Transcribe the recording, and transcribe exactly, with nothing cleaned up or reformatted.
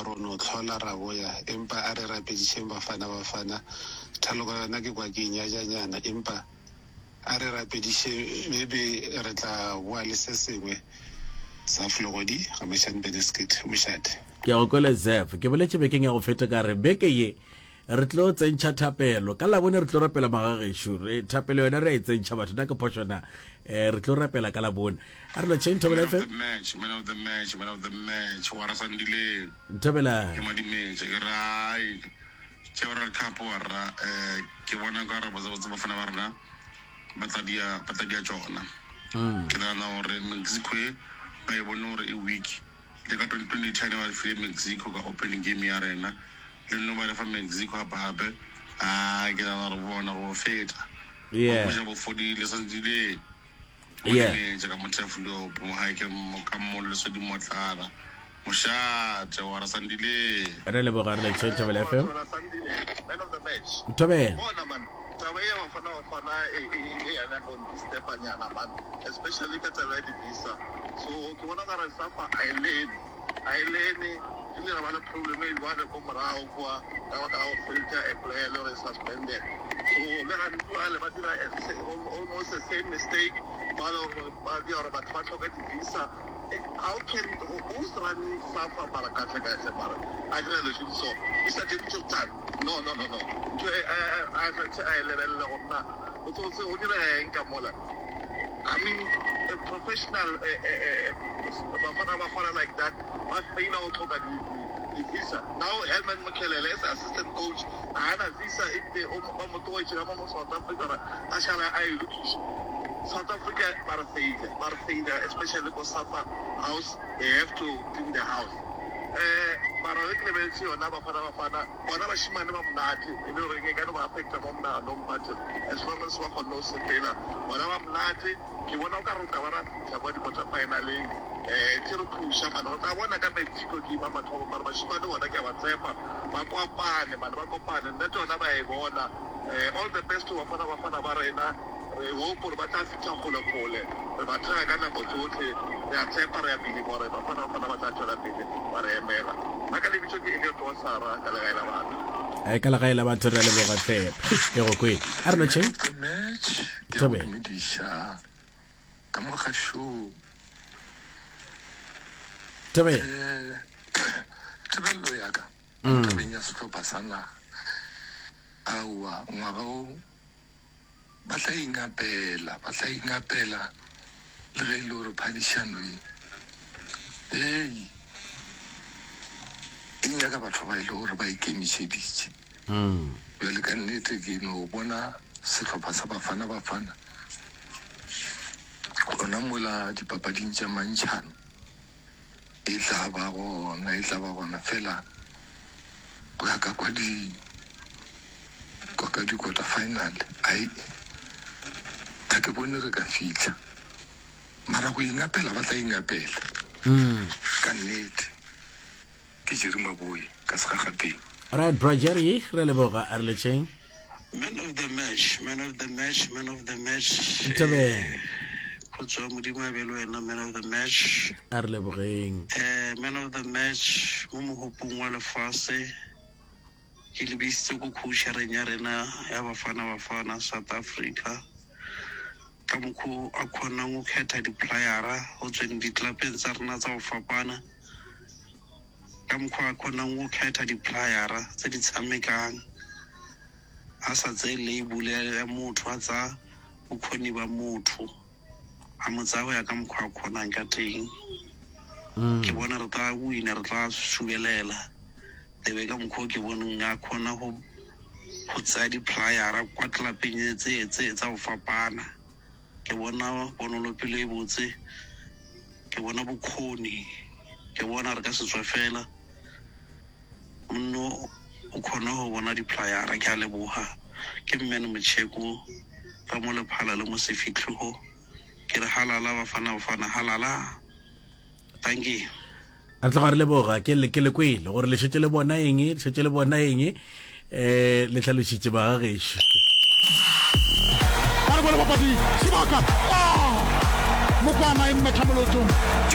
ba ro no hlola ra boya, empa a re rapedišeng Bafana Bafana. Thaloko yona ke kwa ke e nyajanyana, empa a re rapediše maybe re tla boa le se sengwe. Zaf Legodi, Ga-Mashane Beneskit, Mošate. Ke a go kwele Zaf. Ke boletše bekeng ya go feta ka re beke ye re tlo tsentšha thapelo. Ka Labone re tlo rapela magagešo. Re thapelo yona re a e tsentšha batho. Na ke phošo na? Eh, re tlo rapela ka Labone. A re lotšheng Thobela Man of F M. the match, man of the match, man of the match, wa ra Sandile. Thobela. Ke Madimetša, ke re ai. Tše World Cup wa rra, eh, ke bona ka re botse botse bafana ba rena ba tla dia, ba tla dia tšona. Ke nagana gore Mexico e ba e bone gore e weak. Le ka twenty twenty ten ba file Mexico ka opening game ya rena. Le no ba le fa Mexico gape gape. Ah, ke nagana gore bona go feta. Yeah. Bo ja bo fodile Sandile. Yeah. Madimetša ka mothefulio mo gae ke mo ka mo lesodi motlala. Mošate wa ra Sandile. Re leboga re lotšheng Thobela F M. Thobela Sandile, man of the match. Thobela. Bona man, taba e ya Bafana Bafana e e e yana go stepanyana man, especially ka taba ya di-visa. So ke bona ka re SAFA a e lene, a e lene, ebile ra ba le problem e jwale ko morago kwa ka baka la go filter a player le gore e suspended. So le gane jwale ba dira a sa- almost the same mistake, ba le gore ba dira gore batho ba tlhoke di-visa. How can who's running SAFA mara kahle kahle mara a dira dilo tše di so Mister David Choptan no no no no ntho e a a a a e lebelele gore na o tsotse o dira eng ka mola. I mean a professional eh, eh, eh, bafana bafana like that ba faila go tlhoka di di visa. Now Herman Mokhelele as assistant coach a ana visa ebile o ba mo tlogetše ka mo mo South Africa gore a šala a e lokiša. South Africa ba re faile, ba re faile especially ko SAFA house, they have to clean the house. Eh mara ge ke lebeletse yona Bafana Bafana bona bashimane ba monate e le goreng e ka no ba affecta mo monaganong, but as long as ba kgonne go sepela bona ba monate. Ke bona o ka re o tla ba ra fitlha kwa di-quarter finaleng, eh ke re phusha mane re tla bona ka Mexico ke ima mathomo, mara bashimane bona ke a ba tshepa ba kopane mane ba kopane nnete yona ba e bona. Eh all the best to Bafana Bafana ba rena, re hope gore ba tla fitlha kgole kgole, re ba thega ka nako tsotlhe, re a tshepa re a believe gore Bafana Bafana ba tla tšwela pele ba re emela. Nna ka lebitso ke Elliot wa Sara ka legae la batho. Eh, ka legae la batho re a leboga hle. Ke go kwele. A re lotšheng. Man of the match, ke a go Thobela. dumediša ka mo gašong. Thobela. Eh, tebelelo ya ka mo tabeng ya sehlopha sa naga, aowa ngwaga o ba tla ingapela, ba tla ingapela le ge e le gore phadišano ye ei e nyaka batho ba e le gore ba ikemišeditše. Bjale ka nnete ke no bona sehlopha sa Bafana Bafana gona mola dipapading tša mantšhano e tla ba gona, e tla ba gona fela go ya ka kwa di kwa ka di-quarter final ai ga ke bone re ka fitlha, mara go ingapela ba tla ingapela ka nnete. Ke Jerry Maboe ka Segagapeng. Right, bra Jerry, re a leboga, a re letšeng. Man of the match, man of the match, man of the match. Thobela. Eh, Khotso ya Modimo a be le wena, man of the match. A re lebogeng. Eh, man of the match mo mogopong wa lefase ke lebisitse ko coachereng ya rena ya Bafana Bafana South Africa ka mokgwa a kgonang go kgetha di-playera go tsweng ditlelapeng tsa rena tsa go fapana, ka mokgwa a kgonang go kgetha di-playera tse di tshamekang a sa tseye label ya motho, a tsaya bokgoni ba motho a mo tsaya go ya ka mokgwa a kgonang ka teng. Ke bona re tla wina, re tla subelela tebe ka mokgwa o ke boneng a kgona go go tsaya di-playera kwa tlelapeng tse tse tsa go fapana. Ke bona ponolopele e botse, ke bona bokgoni, ke bona re ka se tswe fela monno o kgona go bona di-playera. Ke a leboga. Ke mmene Motšheko ka mo Lephala le mo Sefitlhogo. Ke re halala Bafana Bafana, halala. Thank you. Re tloga re leboga ke le ke le kwele gore le šetše le bona eng, le šetše le bona eng, eh le hlalošitše ba gagešo. Ba re bone bapadi sebaka. Ah! Mokwana e mmetha molotong.